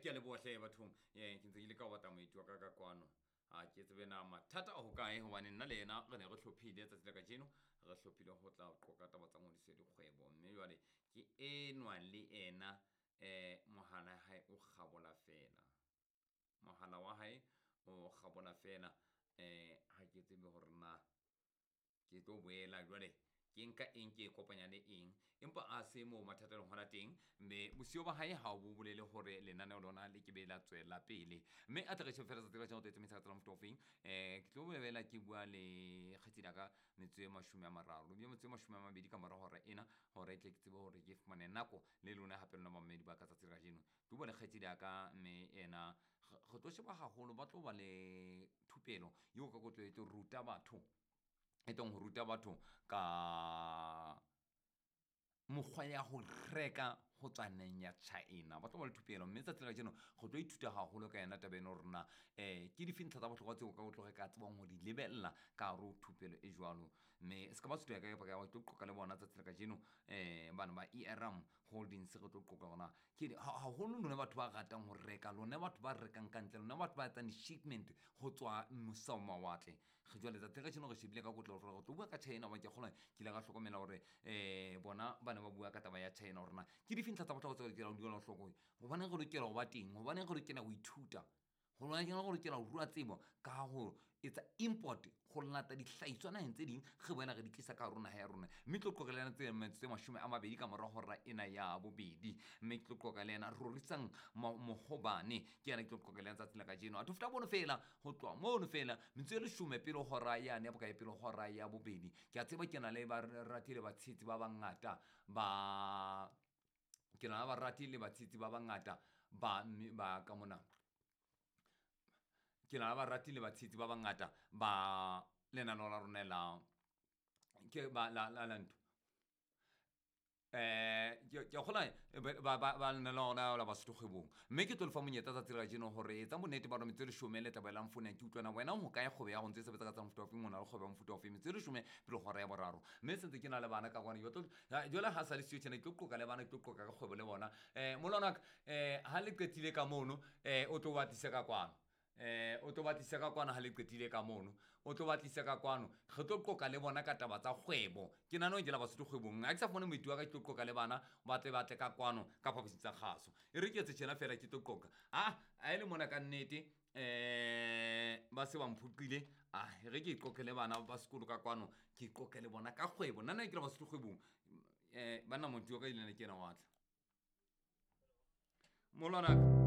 Ke a leboha hle bathong. Ke ntse ke leka ho batla moeti wa ka ka kwano. Ha ke tsebe na mathata a hokae, hobane nna le yena re ne re hlophile tsatsi la kajeno, re hlophile ho tla qoqa taba tsa ngodiso ya dikgwebo. Mme jwale ke enwa le ena, mohala ya hae o kgabola fela. Mohala wa hae o kgabola fela. Ha ke tsebe hore na ke tlo boela jwale ke nka eng, ke e kopanya le eng, empa a se moo mathata a leng hona teng. Mme bosiyo ba hae ha bo bolele hore lenaneo lona le ke be la tswela pele. Mme a tle re shebe fela tsatsi la kajeno re tlo e tsamaisa ka tsela mofuta ofeng. Ke tlo boela ke bua le kgaitsedi ya ka metsotso e 30, ebile metsotso e 20 ka mora hora ena, hore e tle ke tsebe hore ke fumane nako le lona hape lona bamamedi ba ka tsatsi la kajeno. Ke bua le kgaitsedi ya ka, mme ena re tlo sheba haholo, ba tlo ba le thupelo eo ka kotlo e tlo ruta batho, e tlong ho ruta batho ka mokgwa ya ho reka ho tswa naheng ya China. Ba tlo ba le thupelo, mme tsatsi la kajeno re tlo ithuta haholo ka yona taba ena hore na ke dife ntlha tsa bohlokwa tseo ka o tlo re ka tsebang ho di lebella ka hare ho thupelo e jwalo. Mme se ka ba sutu ya ka kapa ka tlo qoqa le bona tsatsi la kajeno, bana ba ERM Holdings, re tlo qoqa hore na ke haholo lona batho ba ratang ho reka, lona batho ba rekang ka ntle, lona batho ba etsang di-shipment ho tswa mose ho mawatle. Re jwale tsatsi la kajeno re shebile ka kotlo hore re tlo bua ka China, hobane ke a kgolwa ke ile ka hlokomela hore bona ba ne ba bua ka taba ya China, hore na ke dife ntlha tsa bohlokwa tseo re lokelang ho di ela hloko, hobaneng re lokela ho ba teng, hobaneng re lokela ho ithuta, hobaneng re lokela ho rua tsebo ka ho etsa import, ho lata dihlahiswa naheng tse ding, re boela re di tlisa ka hare ho naha ya rona. Mme ke tlo qoqa le yena tse metsotso e 20 ka mora hora ena ya bobedi. Mme ke tlo qoqa le yena Rorisang Mohobane, ke yena ke tlo qoqa le yena tsatsi la kajeno. A feta mono fela, ho tloha mono fela metsotso e 10 pele hora yane ya bokae, pele hora ya bobedi. Ke a tseba ke na le barati le batshehetsi ba bangata ba, ke na le barati le batshehetsi ba bangata ba, mme ba ka mona. Ke na le barati le batshehetsi ba bangata ba lenaneo la rona la, ke ba la, la, la ntho. Ke a kgolwa, ba lenaneo la la Basotho kgwebong. Mme ke tlo lefa monyetla tsatsi la kajeno hore etsa bonnete ba hore metsotso e 10 le tla boelang founung, ke utlwana wena ho kae kgwebo ya hao ntse e sebetsa ka tsa mofuta ofeng, o na le kgwebo ya mofuta ofeng, metsotso e 10 pele hora ya boraro. Mme se ntse ke na le bana ka kwana, ke tlo, ha, jwale ha sa le siyo tjena, ke tlo qoqa le bana, ke tlo qoqa ka kgwebo le bona. Molwana wa ka, ha le qetile ka mono, o tlo ba tlisa ka kwano. O tlo ba tlisa ka kwano ha le qetile ka mono, o tlo ba tlisa ka kwano, re tlo qoqa le bona ka taba tsa kgwebo. Ke nahana hore ke la Basotho kgwebong, ha ke sa fumane moeti wa ka, ke tlo qoqa le bana ba tle ba tle ka kwano ka phaposing tsa kgaso. E re ke etse tjena fela, ke tlo qoqa. Ha e le mona ka nnete, ba se ba mphoqile. E re ke qoqe le bana ba sekolo ka kwano, ke qoqe le bona ka kgwebo. Nna nna ke la Basotho kgwebong. Banna moeti wa ka ile ke yena wa tla. Molwana.